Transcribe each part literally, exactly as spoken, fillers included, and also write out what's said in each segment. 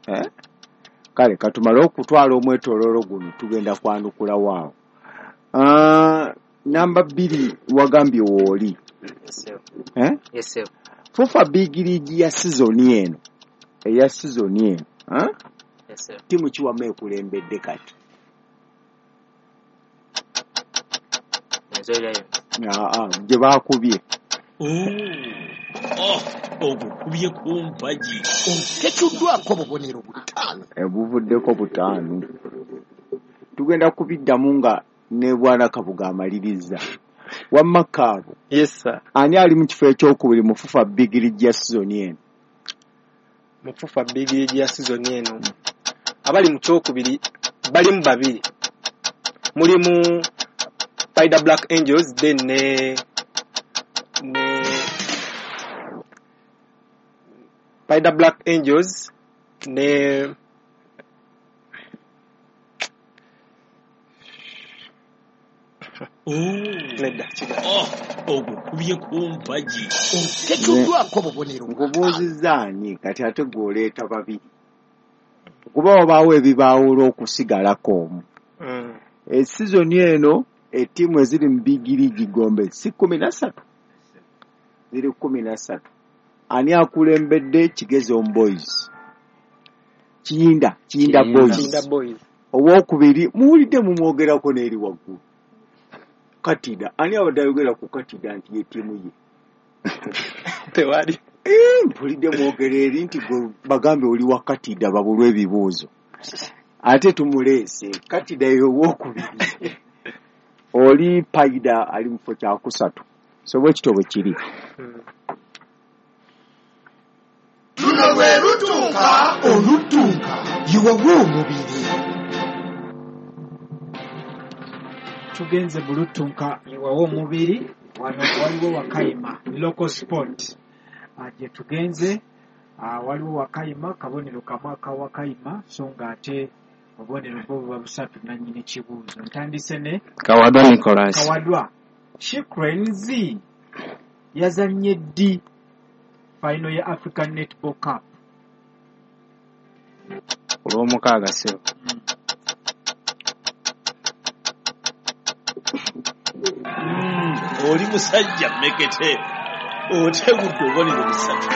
Eh? Kale katumale okutwala omwetooloolo guno, tugenda kwanukula waawo. Ah, namba bbiri wagambye wooli. Eh? Yes, sir. FUFA Big League ya sizoni eno, eya sizoni eno, eh? Yes, sir. Ttiimu ki wamma ekulembedde kati? Rwenzori Lions. Aa, gye baakubye. Oh, ogukubye ku mpagi. Tetuddwako bubonero butaano. Obuvuddeko butaano. Tugenda kubiddamu nga ne Bwana Kabuga amaliriza. Wamma Kaabo. Yes, sir. Ani ali mu kifo ekyokubiri mu FUFA Big League ya sizoni eno? Mu FUFA Big League ya sizoni eno abali mu kyokubiri balimu babiri. Mulimu Paidha Black Angels then ne ne Paidha Black Angels ne nedda kiga. Oh, ogukubye ku mpagi. Tetuddwako bubonero butaano. Nkubuuzizza ani kati ate gw'oleeta babiri? Kuba wabaawo ebibaawula okusigalako omu. Mm. Esizoni eno ettiimu eziri mu Big League Gombe si kkumi na ssatu, ziri kkumi na ssatu. Ani akulembedde? Kigezo Boys, Kiyinda, Kiyinda Kiyinda. Boys. Kiyinda Boys. Owokubiri muwulidde mumwogerako n'eri waggulu, Katida. Ani abadde ayogera ku Katida nti ye ttiimu ye? Tewali. Eh, mpulidde mwogera eri nti gwe bagambe oli wa Katida babulwe ebibuuzo, ate tumuleese. Katida ye owokubiri, oli Paidha ali mu kifo kyakusatu. So bwe kityo bwe kiri. Mm. Luno lwe lutunka oluttunka yiwawe omubiri. Tugenze mu lutunka iwawo omubiri. Wano waliwo Wakayima local sport. Ah, gye tugenze, ah, waliwo Wakayima, kabonero kamu aka Wakayima, so nga ate obubonero bwo buba busatu nannyini kibuuzo. Ntandise ne Kawadwa Nicholas. Kawadwa. She Cranes yazannye ddi final ya African Netball Cup? Ku lwomukaaga ssebo. Mm. Oli musajja mmekete, otegudde obubonero busatu.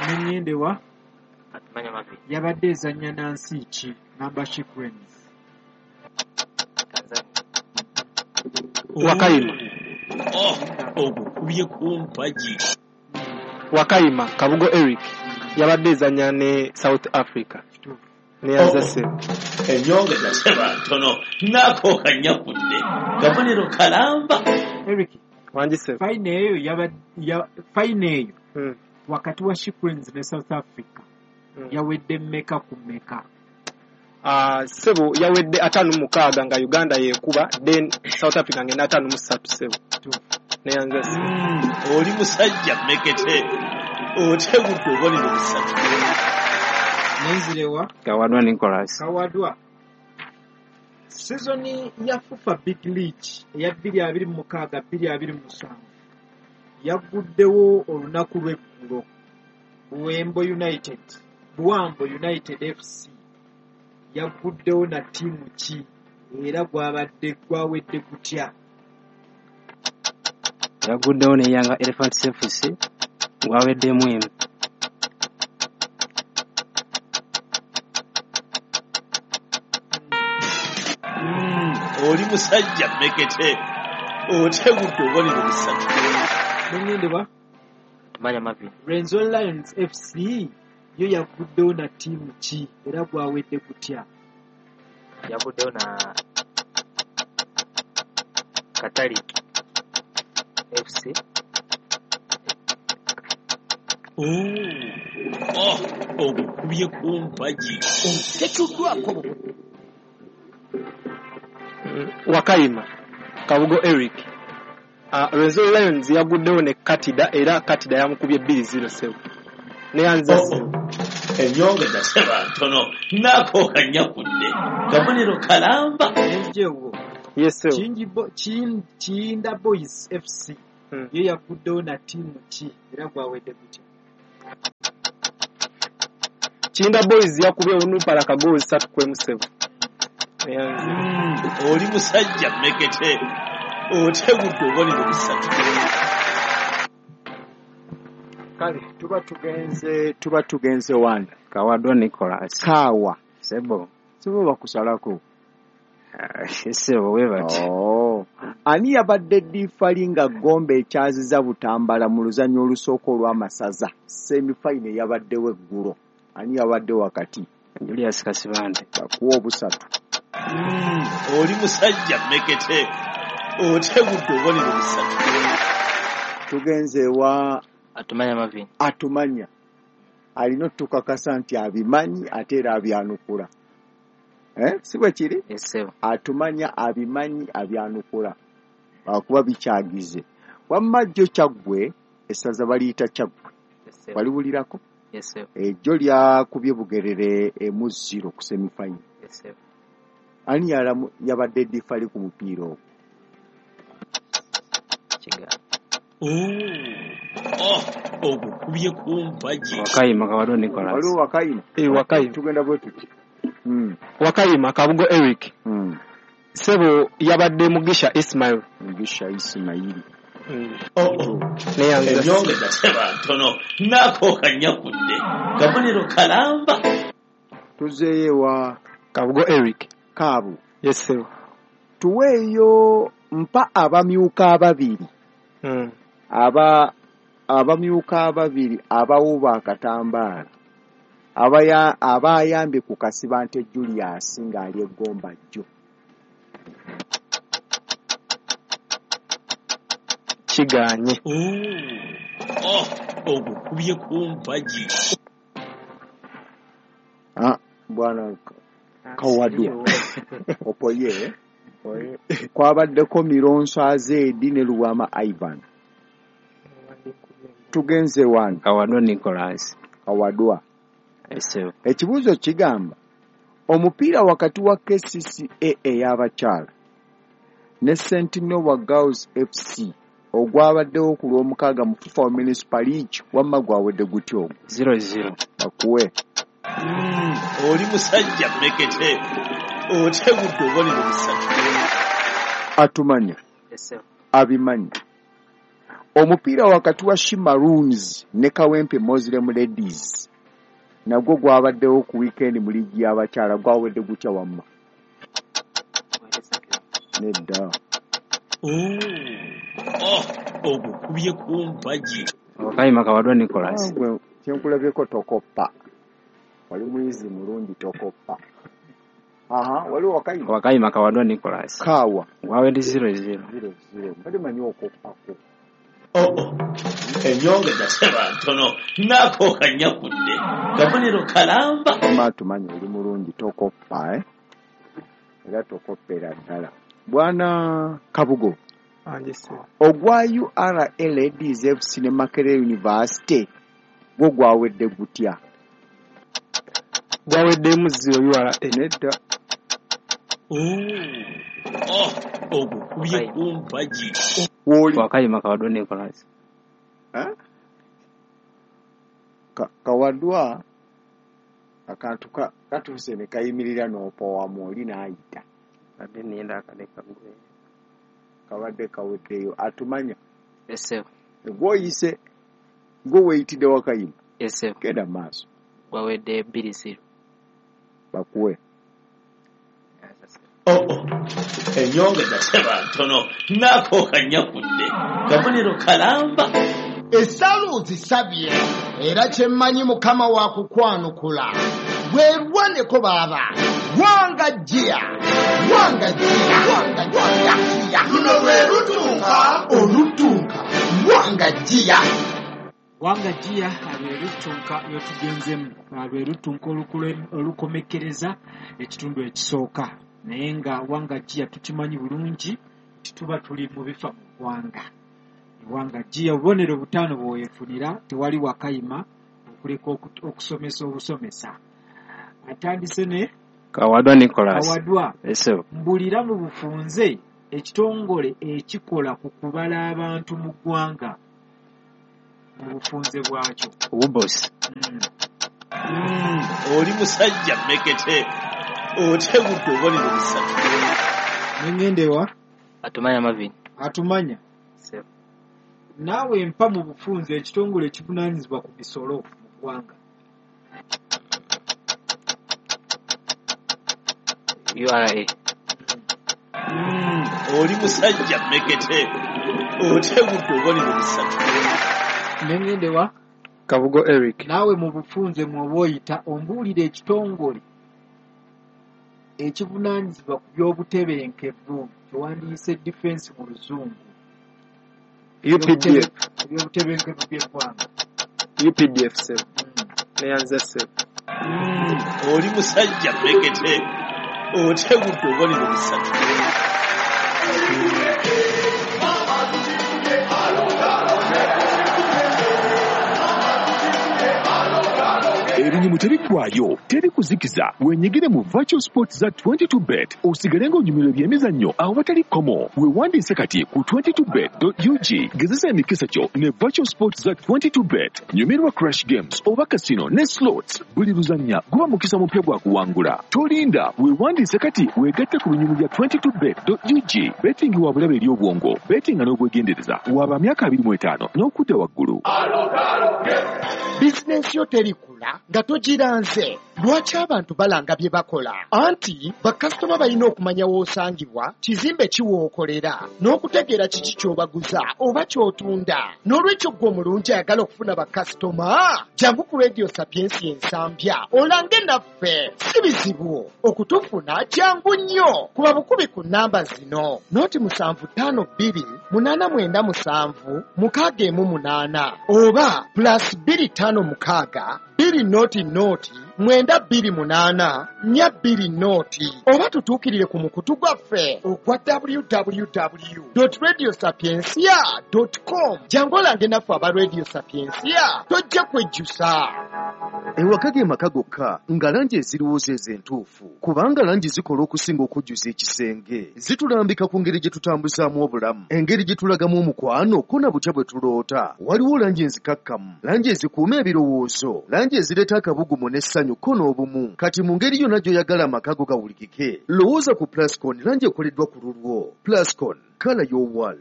Nengendewa Atumanya Marvin. yabadde ezannya na nsi ki? Namba She Cranes. Tanzania. Wakayima. Oh, ogukubye ku mpagi. Wakayima Kabugo Eric yabadde ezannya ne South Africa. Kituufu. Neyanza ssebo. Ennyongeza seba ntono naako kanyakudde kabonero kalamba. Eric, Wangi ssebo. final eyo yaba ya final eyo Mm. wakati wa She Cranes ne South Africa Mm. yawedde mmeka ku mmeka? Ah, ssebo yawedde ataano mu mukaaga nga Uganda yeekuba, then South Africa ng'ena ataano mu ssatu ssebo. Kituufu. Neyanza ssebo. Oli musajja mmekete, otegudde obubonero busatu. Nenzirewa Kawadwa Nicholas. Kawadwa. Sizoni ya FUFA Big League eya bbiri abiri mu mukaaga bbiri abiri mu musanvu yagguddewo olunaku lw'eggulo. Buwembo United, Buwambo United F C yagguddewo na ttiimu ki era gwabadde gwawedde gutya? Yaguddewo ne Yanga Elephants F C gwaweddemu emu. Oli musajja mmekete, otegudde obubonero busatu. Nengendebwa Tumanya Marvin. Rwenzori Lions F C yo yaguddewo na ttiimu ki era gwawedde gutya? Yaguddewo na Katalik F C. Oh, ogukubye ku mpagi. Tetuddwako bubonero. Wakayima Kabugo Eric. Uh, Rwenzori Lions yaguddewo ne Katida era Katida yamukubye bbiri zero ssebo. Neyanza ssebo. Ennyongeza seba ntono naako kanyakudde kabonero kalamba. Nenjewo. Yes sir. Kingi bo, Kin, Kiyinda Boys F C Hmm. yo yaguddewo na ttiimu ki era gwawedde gutya? Kinda Boys yakubye Onupala kagooli ssatu ku emu ssebo. Mm, oli musajja mmekete otegudde obubonero busatu. Kale tuba tugenze tuba tugenze wani Kawadwa Nicholas. Kaawa. Sebo. Sebo bakusalako. Ah, sebo webati. Oh. Ani yabadde ddiifali nga Gombe ekyaziza Butambala mu luzannya olusooka olw'amasaza semifinal yabaddewo eggulo? Ani yabadde wakati? Julius Kasibante. Bakuwa obusatu. Mm, oli musajja mmekete otegudde obubonero busatu. Tugenze wa Atumanya Marvin. Atumanya alina otukakasa nti abimanyi ate era abyanukula. Eh, si bwe kiri? Yes, sir. Atumanya abimanyi abyanukula akuba bikyagize. Wamma jjo Kyaggwe, essaza baliyita Kyaggwe. Yes, sir. Waliwulirako? Yes, sir. Ejjo lyakubye Bugerere emu zero ku semifinal. Yes, sir. Ani yalamu yabadde difali ku mupiira ogwo? Kiga. Oh, ogukubye ku mpagi. Wakayima Kawadwa Nicholas. Waliwo Wakayima? Eh, Wakayima. Tugenda bwe tuti. Mm. Wakayima Kabugo Eric. Mm. Sebo yabadde Mugisha Ismail. Mugisha Ismail. Mm. Oh, oh. Neyanza. Enyongeza seba ntono nako kanyakudde kabonero kalamba. Tuzeeyo wa Kabugo Eric. Kaabu. Yes, sir. Tuweeyo mpa abamyuka ababiri. Mm. Aba abamyuka ababiri abawuba akatambaala abaya abayambye ku Kasibante Julius ng'ali eggomba jjo. Kiganye. Oh, ogukubye ku mpagi. Ah, bwana Kawadwa. Opoye. Kwabaddeko Mironso Azedi ne Luwama Ivan. Tugenze wani Kawadwa Nicholas. Kawadwa. Yes, sir. Ekibuuzo kigamba omupiira wakati wa K C C A ey'abakyala ne Sentinel Girls F C ogwabaddewo ku lw'omukaaga mu FIFA Municipal League wamma gwawedde gutya ogwo? Zero zero. Bakuwe. Mm, oli musajja mmekete otegudde obubonero busatu. Atumanya. Yes, sir. Abimanyi. Omupiira wakati wa She Maroons ne Kawempe Muslim Ladies nagwo gwabaddewo ku weekend mu liigi y'abakyala gwawedde gutya wamma? Nedda. Oh, ogukubye ku mpagi. Wakayima Kawadwa Nicholas. Gwe kyenkulabyeko tokoppa. Wali muyizi mulungi tokoppa. Aha, waliwo Wakayima. Wakayima Kawadwa Nicholas. Kaawa. Gwawedde zero zero. Zero zero. Mbadde manyi okoppako. Oh, oh. Enyongeza seba ntono nako kanyakudde kabonero kalamba. Wamma tumanyi oli mulungi tokoppa eh? Era tokoppera ddala. Bwana Kabugo. Anje sir. Ogwa U R A Ladies F C ne Makerere University gwo gwawedde gutya? Gwaweddemu zero U R A. Nedda. Oh, ogukubye ku mpagi. Woli. Wakayima Kawadwa Nicholas. Eh? Ka, Kawadwa akantu ka, katuuse ne kayimirira n'opowamu oli n'ayita. Badde nninda akadde kagwe. Kabadde kaweddeyo. Atumanya. Yes, sir. Gw'oyise gwe weeyitidde Wakayima. Yes, sir. Genda mu maaso. Gwawedde bbiri zero. Bakuwe. Oh, oh. Enyongeza seba ntono nako kanyakudde kabonero kalamba. Essala ozisabye era kye mmanyi Mukama wa kukwanukula. Weerwaneko baaba. Wanga jia. Wanga jia. Wanga jia. Luno lwe lutunka olutunka. Wanga jia. Wanga jia lwe lutunka lwe lwe lutunka olukomekkereza ekitundu ekisooka. Naye nga wanga jia tukimanyi bulungi nti tuba tuli mu bifa mu ggwanga. Wanga jia obubonero butaano bw'oyefunira tewali Wakayima okuleka okusomesa obusomesa. Atandise ne Kawadwa Nicholas. Kawadwa. Yes, sir. Mbulira mu bufunze ekitongole ekikola ku kubala abantu mu ggwanga mu bufunze bwakyo. Ubos. Mm. Mm, Oli musajja mmekete otegudde obubonero busatu. Nengende wa? Atumanya Marvin. Atumanya. Ssebo. Naawe mpa mu bufunze ekitongole ekivunaanyizibwa ku misolo mu ggwanga. U R A. Mm, oli musajja mmekete otegudde obubonero busatu. Nengende wa? Kabugo Eric. Naawe mu bufunze mw'oba oyita ombuulire ekitongole ekivunaanyizibwa ku by'obutebenkevu kyewandiise defense mu luzungu. U P D F. Ebyobutebenkevu by'eggwanga. U P D F ssebo. Neyanze ssebo. Mm, oli musajja mmekete otegudde obubonero busatu. Ebinyumu tebiggwayo, teri kuzikiza. Wenyigire mu virtual sports za twenty-two bet osigale ng'onyumirwa ebyemizannyo awatali kkomo. Weewandiise kati ku twenty-two bet dot U G. Gezesa emikisa kyo ne virtual sports za twenty-two bet. Nyumirwa crash games oba casino ne slots. Buli luzannya guba mukisa mupya gwa kuwangula. Tolinda, weewandiise kati weegatte ku binyumu bya twenty-two bet dot U G. Betting wa bulabe eri obwongo. Betting n'obwegendereza. Waba myaka abiri mu etaano n'okudda waggulu. Bizinensi yo terikula nga togiranze. Lwaki abantu balanga bye bakola? Anti bakasitoma balina okumanya w'osangibwa, kizimbe ki w'okolera, n'okutegeera kiki ky'obaguza oba ky'otunda. N'olwekyo ggwe omulungi ayagala okufuna bakasitoma, jangu ku Radio Sapientia Ensambya olange naffe. Si bizibu okutufuna, jangu nnyo. Kuba bukubi ku nnamba zino: noti musanvu ttaano bbiri munaana mwenda musanvu mukaaga emu munaana oba plus bbiri ttaano mukaaga bbiri noti noti mwenda bbiri munaana nnya bbiri noti oba tutuukirire ku mukutu gwaffe ogwa w w w dot radio sapientia dot com. Jangu olange naffe aba Radio Sapientia, tojja kwejjusa. Ewaka ge maka gokka nga langi ezirowooza ezo entuufu, kubanga langi zikola okusinga okujjuza ekisenge. Zitulambika ku ngeri gye tutambuzaamu obulamu, engeri gye tulagamu omukwano ko na butya bwe tuloota. Waliwo langi enzikakkamu, langi ezikuuma ebirowoozo, langi ezireeta akabugumu n'essanyu ko n'obumu. Kati mu ngeri yonna gy'oyagala amaka go gawulikike, lowooza ku Plascon, langi ekoleddwa ku lulwo. Plascon, colour your world.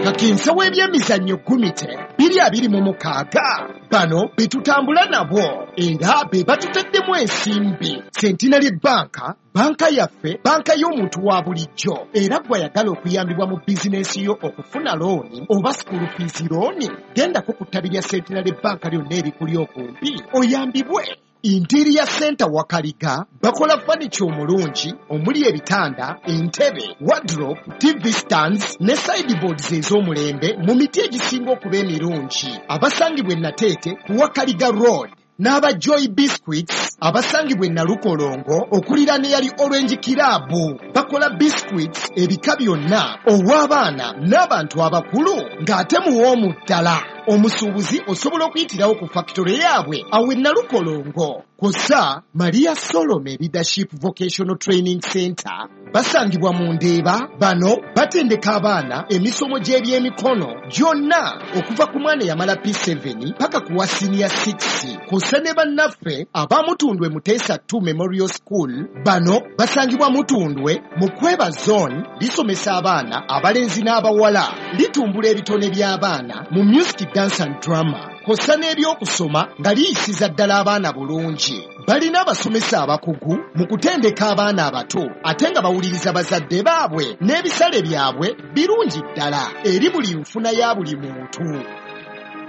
Kakinsa w'ebyemizannyo Gumite bbiri abiri mu mukaaga. Bano be tutambula nabo era be batutaddemu ensimbi. Centenary Bank, banka yaffe, banka y'omuntu wa bulijjo. Era gwe ayagala okuyambibwa mu bizinensi yo okufuna looni oba school fees looni, gendako ku ttabi lya Centenary Bank lyonna erikuli okumpi oyambibwe. Interior Center Wakaliga bakola furniture omulungi omuli ebitanda, entebe, wardrobe, T V stands ne sideboards ez'omulembe mu miti egisinga okuba emirungi. Abasangibwa e Nateete ku Wakaliga Road n'aba Joy Biscuits abasangibwa e Nalukolongo okuliraana eyali Orange Club bakola biscuits ebika byonna ow'abaana n'abantu abakulu ng'ate muwoomu ddala. Omusuubuzi osobola okuyitirawo ku factory yaabwe awo e Nalukolongo. Kw'ossa Maria Solome Leadership Vocational Training Center basangibwa mu Ndeeba. Bano batendeka abaana emisomo gy'ebyemikono gyonna okuva ku mwana eyamala P seven paka ku wa senior six. Kw'ossa ne bannaffe aba Mutundwe Muteesa two Memorial School. Bano basangibwa Mutundwe mu Kweba Zone. Lisomesa abaana abalenzi n'abawala, litumbula ebitone by'abaana mu music, dance and drama. Kw'ossa n'ebyokusoma nga liyisiza ddala abaana bulungi. Balina abasomesa abakugu mu kutendeka abaana abato ate nga bawuliriza bazadde baabwe n'ebisale byabwe birungi ddala eri buli nfuna ya buli muntu.